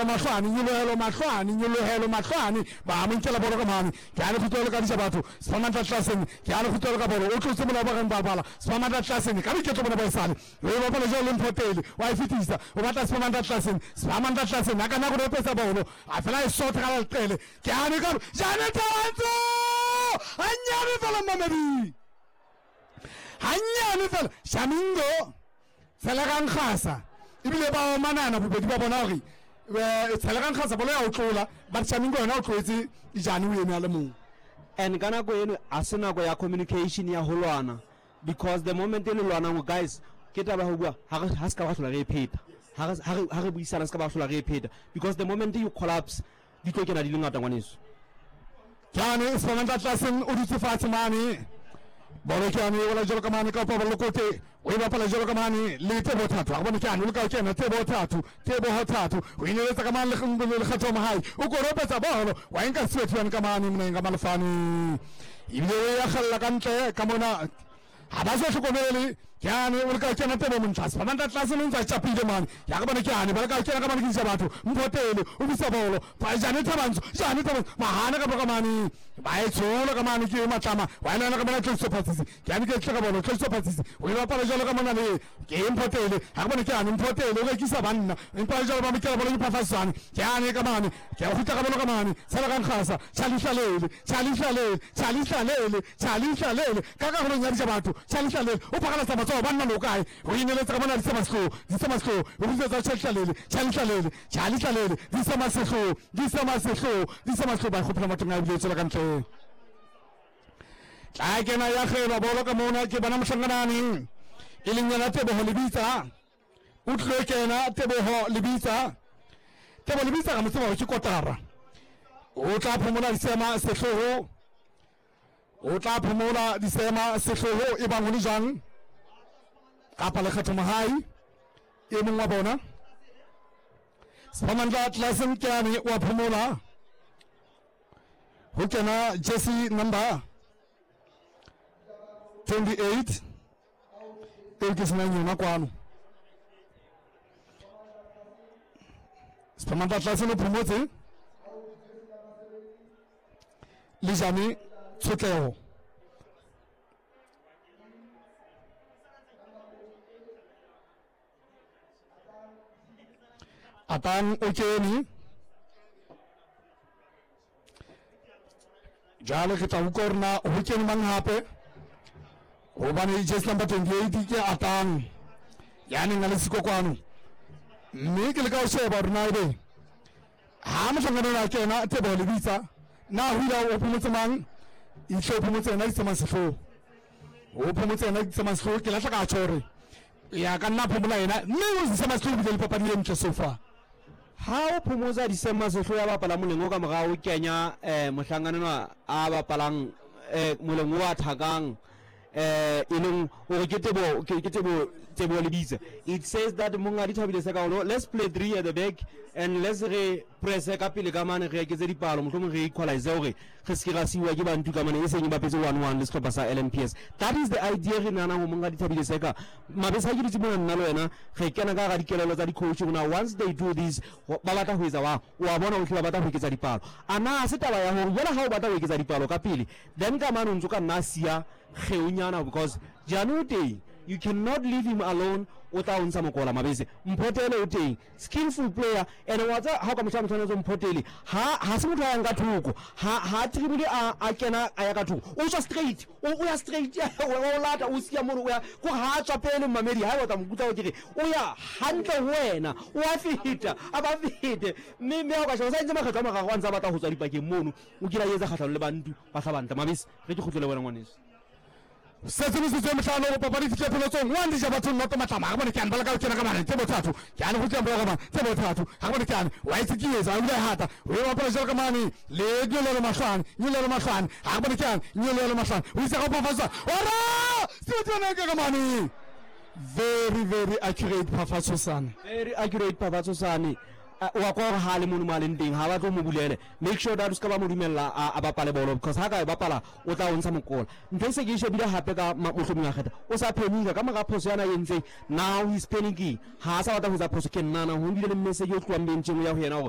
Mahlwane, nyolohelo, mahlwane, nyolohelo, mahlwane, ba mo nkela bolo ka mane. Ke a le kgutlo ka dija batho. Siphamandla Tlasene, ke a le kgutlo ka bolo. O tlotse molao ba reng ba bala. Siphamandla Tlasene, ka boiketlo bona ba esale. O e bapala jwalo le Mphotele, wa e fetisa. O batla Siphamandla Tlasene. Siphamandla Tlasene, a ka nna go repetsa bolo. A fela e sotha ka leqele. Ke a ne ka Jane Tawantso! Hanyane fela mmamedi. Hanyane fela. Shamingo. Tshelegang Gasa ebile ba omanana bobedi ba bona gore eh, Tshelegang Gasa bolo ya o tlola but Shamingo yona o tloetse Jane o eme a le mong. And ka nako eno a se nako ya communication ya ho lwana because the moment e le lwanang guys ke taba ya ho bua ha re ha se ka ba hlola re e pheta ha re buisana se ka ba hlola re e pheta because the moment you collapse di tlo kena di le ngata ngwaneso. Jane Sibamandla Tlaseng o dutse fatshe mane. Bolo ke yane e wela jalo ka mane ka paballo kote o e bapala jalo ka mane le Tebo Thato a bone ke yane o leka ho kena Tebo Thato Teboho Thato o ineletsa ka mane le Lekgetho Mohai o koropetsa bolo wa enka Sibethu yane ka mane moneng ka malefane ebile o ya kgalla ka ntle ka mona ga ba sa hlokomele ke ane o leka kena tebo montlase ba mantla tlase le ntse a tšapile mane ya ka bone ke ane ba leka kena ka mane ke isa batho mphotele o bisa bolo jane thabantsho jane thabantsho mahana ka boka mane ba e tshola ka mane ke matlama wa ena ka mona tloso phatsisi ke ane ke tle ka bolo tloso phatsisi o ile bapala jalo ka mona le ke mphotele ga ke bone ke ane mphotele o rekisa banna empa jalo ba mokela bolo ke phafatsane ke ane ka mane ke a kgutla ka bolo ka mane tshala ka nkgasa tšhališalele tšhališalele tšhališalele tšhališalele ka karolong ya dija batho tšhališalele o phagalatsa matsogo banna lo kae go ineletsa ka mona disemasetloo disemasetloo o kgutletsa tšhališalele tšhališalele tšhališalele disemasetloo disemasetloo disemasetloo ba kgopela mathong a ebile e tswela ka ntle tla kena ya kgelwa bolo ka mona ke bona mohlanganane e leng yena Tebogo Lebitsa o tlilo kena Tebogo Lebitsa Tebogo Lebitsa ga mo tseba gore ke kotara o tla phomola disema sehlogo o tla phomola disema sehlogo e bang go le jang kapa Lekgetho Mogai e mongwe wa bona Siphamandla Tlasen Keane wa phomola go kena jersey number 28 eo ke senang yona kwano Siphamandla Tlasen o phomotse le jane tshotlego Atang o kene jalo ke tla utlwa gore na go kene mang gape gobane jersey number 28 ke Atang ya neng a le siko kwano mme ke le ka go sheba gore na ebe ha mohlangano a kena Tebogo Lebitsa na go ile o phomotse mang itlhe o phomotse ena ditsamang setlhogo o phomotse ena ditsamang setlhogo ke latlha ka tjho gore ya ka nna phomola ena mme o ditsamang setlhogo bile le papadi e ntle so far. Ha o phomotsa Disemba Sehlo ya bapala moleng o ka morao o kenya eh, mohlankana enwa a bapalang eh, moleng o a thakang eh, e leng hore ke Teboho ke ke Teboho Teboho Lebitsa. It says that Monghadi Thabile Sekaolo, let's play three at the back and let's re press ka pele ka mane re eketse dipalo mohlomong re equalize hore re se ke ra siuwa ke bantu ka mane e seng e bapetse 1-1 le sehlopha sa LMPS. That is the idea re nahanang ho Monghadi Thabile Seka. Mabese ha ke dutse mona nna le wena re kena ka hara dikelello tsa di-coach rona once they do this ba batla ho etsa wa o a bona ohle ba batla ho eketsa dipalo. A na se taba ya hore jwale ha o batla ho eketsa dipalo ka pele then ka mane o ntso ka nna siya kgeonyana because Jane o teng you cannot leave him alone o tla o ntsha mokola Mabese. Mphotele o teng skillful player and wa tsa ha o ka mohla motho a Mphotele ha ha se motho a yang ka thoko ha ha dribble a a kena a ya ka thoko o tswa straight o o ya straight o lata o siya mono o ya ko ha tswa pele mmamedi ha o tla mokutla o ke re o ya hantle ho wena o a feta a ba fete mme mme ha o ka sheba sa entse makgetlo a mararo a ntse a batla ho tswa dipakeng mono o kile a etsa kgahlano le bantu ba hlabantle Mabese re ke kgutlele wena ngwaneso. Setse metsotso e mehlano go papadi fihle pheletsong. One dija batho noto matlama ga bone ke ane ba leka go kena ka mane tse bothatho ke ane go tla morago mane tse bothatho ga bone ke ane wa itse ke etsa o ile hata o e bapala jalo ka mane le nyolelo mahlwane nyolelo mahlwane ga bone ke ane nyolelo mahlwane o itse go phafatsa ora se tsena ka mane very very accurate phafatso sane very accurate phafatso sane. Wa kwa gore ha le mono mo a leng teng ha ba tlo mo bulele. Make sure that o ska ba mo dumella a bapale bolo because ha ka e bapala o tla o ntsha mokola. Ntho e se ke e shebile hape ka mohlomong a kgetha o sa panic-a ka mora phoso yana entseng. Now he's panicking, ha a sa batla ho etsa phoso. Ke nahana ho bile le message o tlohang bencheng o ya ho yena hore